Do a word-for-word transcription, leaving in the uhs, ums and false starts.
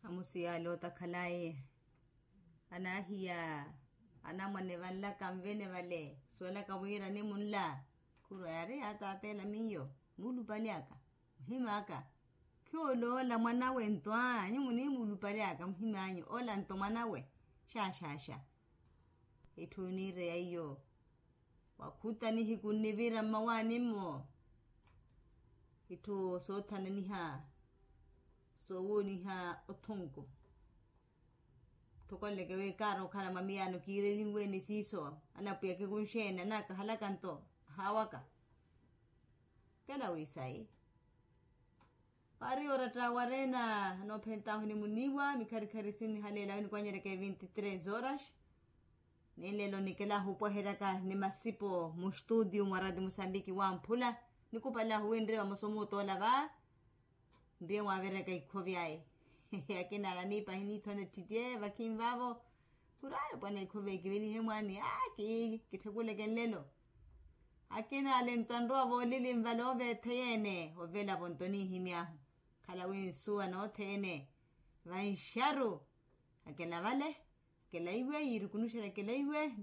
Amusiyaale otakhalaye. Anahiya, anamwane vanlaka nvene vale suwelaka wira nimunla. Khurwa yaari yaataatela miyo muulupali aka, muhim'aka. Khioloola mwanawe nto anyu munimuulupali aka muhim'anyu ola nto mwanawe. Xaxaxa. Itthu oniireya iyo. Wakhuta nihiku nnivira mmawaani-mo. Itthu soothananiha soowooniha othunku. Tthokoleke wi kaari okhala mwa miyaano kiirelinwe ni siiso anapwiya kikunxeene anakahalaka nto. Ahaawaka. Kela wi sayi. Waari oratta wareena anoophentahu ni muniiwa mikharikhari sinihaleela wi nikwanyeryaka e vinti tres horas. Ni lelo nikela ahupweheryaka ni masipo mustutio mwa rati musambiki wamphula. Nikupalahu wi nriye vamosa omuutoola va nriye mwaaveryaka ikhovi ayi. Akina ala niipahi niithona ettittye vakhinvavo. Khuraale pwana ikhovi ekivelihe mwaani aki kitthakuleke nlelo. Akina ale nto anrowa voolili nvale oveetheyeene ovelavo nto niihimy'ahu. Khala wi nsuwa nothene vanxaru. Akela vale. Akela iwe yiirukunuxela akela iwe.